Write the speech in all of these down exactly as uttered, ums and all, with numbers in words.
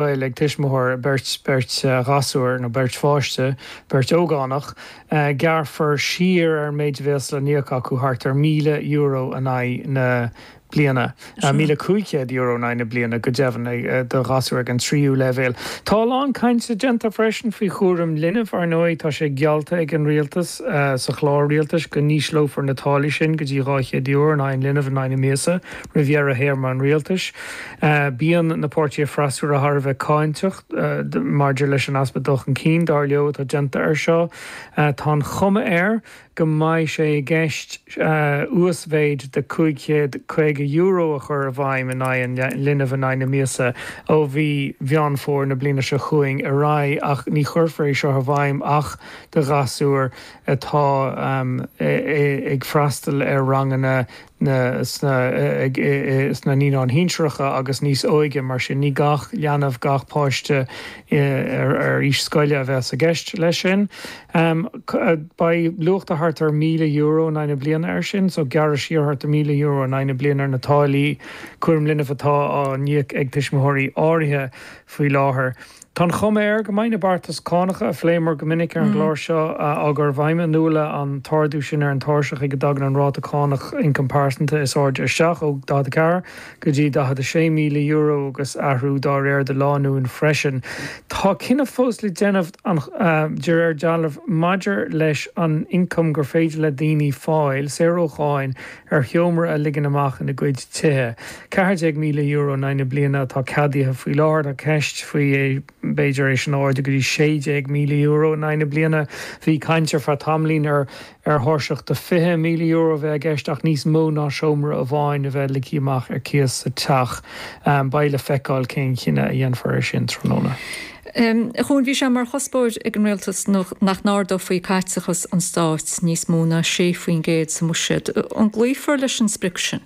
scoil ag tuismitheoir beirt beirt ghasúr nó beirt pháiste, beirt ógánach, gearrfar siar ar an méid a bheas le n-íoc acu thart ar míle euro in aghaidh na bliana, míle cúig chéad euro in aghaidh na bliana go deimhin do ghasúr ag an tríú leibhéal. Tá a lán cainte déanta freisin faoi chúram linbh, ar ndóigh tá sé geallta ag an rialtas sa chlár rialtais go n-ísleofar na táillí sin go dtí dhá chéad euro in aghaidh an linbh in aghaidh na míosa roimh dheireadh théarma an rialtais. Bíonn na páirtithe freasúra thar a bheith cáinteach maidir leis an easpa dul chun cinn, dar leo, atá déanta air seo. Tá an chuma air go mbeidh sé i gceist uasmhéid de cúig chéad caoga euro a chur i bhfeidhm in aghaidh an linbh in aghaidh na míosa ó mhí Mheán Fómhair na bliana seo chugainn ar aghaidh ach ní chuirfear é seo i bhfeidhm ach do ghasúir atá ag freastal ar ranganna na sna naíonáin shinsearacha agus níos óige, mar sin ní gach leanbh, gach páiste ar aois scoile a bheas i gceist leis sin. Beidh luach de thart ar míle euro in aghaidh na bliana air sin, so gearradh siar thart ar míle euro in aghaidh na bliana ar na táillí cúraim linbh atá á n-íoc ag tuismitheoirí áirithe faoi láthair. Tá an chuma air go mbeidh na beartais cánacha a phléamar go minic ar an gclár seo á gcur i bhfeidhm, an uair an t-ardú sin ar an tairseach ag a dtagann an ráta cánach ioncam pearsanta is airde isteach ó daichead a ceathair go dtí daichead a sé míle euro agus athrú dá réir do lánúin freisin. Tá cinneadh fós le déanamh, de réir dealraimh, maidir leis an ioncam gur féidir le daoine fáil, saor ó cháin, ar sheomra a ligean amach ina gcuid tithe. ceathair déag míle euro in aghaidh na bliana atá ceadaithe faoi láthair. Tá ceist faoi é b'fhéidir é sin a ardú go dtí sé déag míle euro in aghaidh na bliana. Bhí caint ar feadh tamaillín ar ar thairseach de fiche míle euro a bheith i gceist ach níos mó ná seomra amháin a bheith ligthe amach ar cíos sa teach. Beidh le feiceáil cén chinneadh a dhéanfar air sin tráthnóna. A Chuain, bhí sé mar chuspóir ag an rialtas nach n-ardófaí caiteachas an stáit níos mó ná sé faoin gcéad sa mbuiséad. An gcloífear leis an sprioc sin?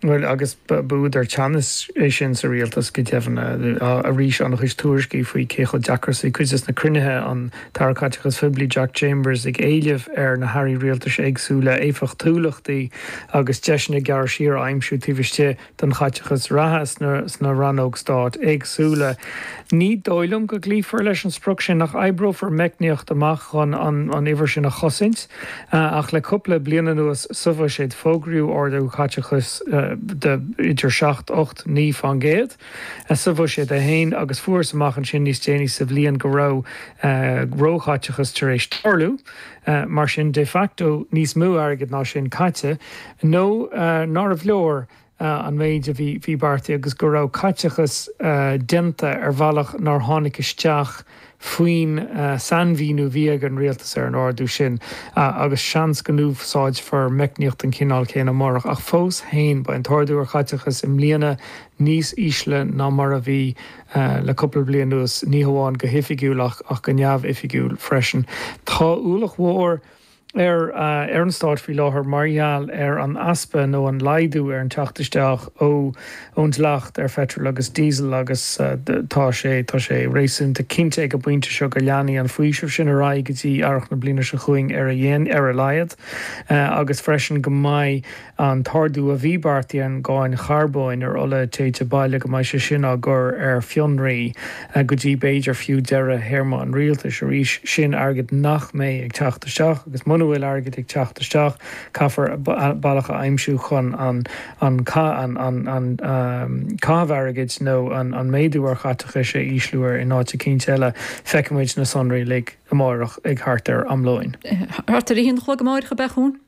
Bhuel, agus b'údar teannais é sin sa rialtas go deimhin. Arís, an-chuid tuairiscí faoi cé chomh deacair is a bhí cuid de na cruinnithe, an tAire Caiteachais Phoiblí Jack Chambers ag éileamh ar na hairí rialtais éagsúla éifeachtúlachtaí agus deiseanna gearradh siar a aimsiú taobh istigh den chaiteachas reatha sna rannóg stáit éagsúla. Ní dóigh liom go gcloífear leis an sprioc sin ach oibreofar meicníocht amach chun an uimhir sin a chosaint. Ach le cúpla bliain anuas sa bhuiséad fógraíodh ardú caiteachais de idir seacht, ocht, naoi faoin gcéad sa bhuiséad é féin agus fuarthas amach ansin níos déanaí sa bhliain go raibh róchaiteachas tar éis tarlú. Mar sin, de facto níos mó airgid ná sin caite nó nárbh leor an méid a bhí beartaithe agus go raibh caiteachas déanta ar bhealach nár tháinig isteach faoin sainmhíniú a bhí ag an rialtas ar an ardú sin agus seans go n-úsáidfear meicníocht den chineál céanna amárach. Ach fós féin, beidh an t-ardú ar chaiteachas i mbliana níos ísle ná mar a bhí le cúpla bliain anuas, ní hamháin go hoifigiúil ach go neamhoifigiúil freisin. Tá ualach mhór ar ar an stát faoi láthair mar gheall ar an easpa nó an laghdú ar an teacht isteach ó ón dleacht ar pheitreal agus díosal agus tá sé tá sé réasúnta cinnte ag an bpointe seo go leanfaidh an faoiseamh sin ar aghaidh go dtí earrach na bliana seo chugainn ar a ar a laghad agus freisin go mbeidh an t-ardú a bhí beartaithe ar an gcáin charbóin ar ola téite baile, go mbeidh sé sin á gcur ar fionraí go dtí b'fhéidir fiú deireadh théarma an rialtais. Arís, sin airgead nach mbeidh ag teacht isteach agus muna bhfuil airgead ag teacht isteach, caithfear bealach a aimsiú chun an caitheamh airgid nó an méadú ar chaiteachais a ísliú ar in áit eicínt eile. Feicfimid na sonraí uilig amárach ag thart ar am lóin. Thart ar a haon a chlog amárach, ab ea, a Chuain?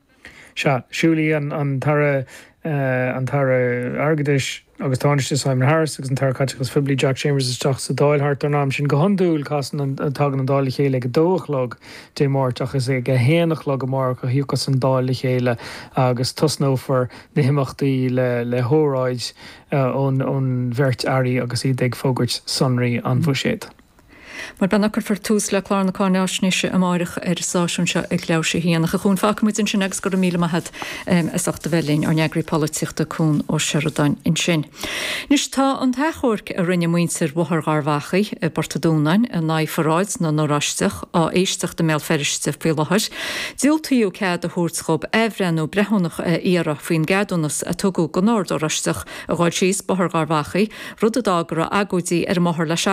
Sea, siúlfaidh an tAire an tAire Airgeadais agus Tánaiste Simon Harris agus an tAire Caiteachais Phoiblí Jack Chambers isteach sa Dáil thart ar an am sin. Go hiondúil casann an tagann an Dáil le chéile ag a dó a chlog Dé Máirt ach is ag a haon a chlog amárach a thiocfas an Dáil le chéile agus tosnófar na himeachtaí le le hóráid ón ón bheirt airí agus iad ag fógairt sonraí an bhuiséid. Mar bean cuirfear tús le clár na cáináisnéise amárach ar an stáisiún seo ag leathuair tar éis a haon. A Chuain fágfaimid ansin agus go raibh míle maith agat as ucht a bheith linn ár n-eagraí polaitíochta Cuan Ó Seireadáin ansin. Anois tá an t-achomharc a rinne muintir Bhóthar Gharbhachaidh i bPort an Dúnáin in aghaidh pharáid na nOráisteach á éisteacht i mBéal Feirste faoi láthair. Diúltaíodh cead a thabhairt dóibh athbhreithniú breithiúnach a iarraidh faoin gceadúnas a tugadh don Ord Oráisteach a ghabháil síos Bóthar Gharbhachaidh, rud a d'fhág go raibh agóidí ar an mbóthar le seachtain.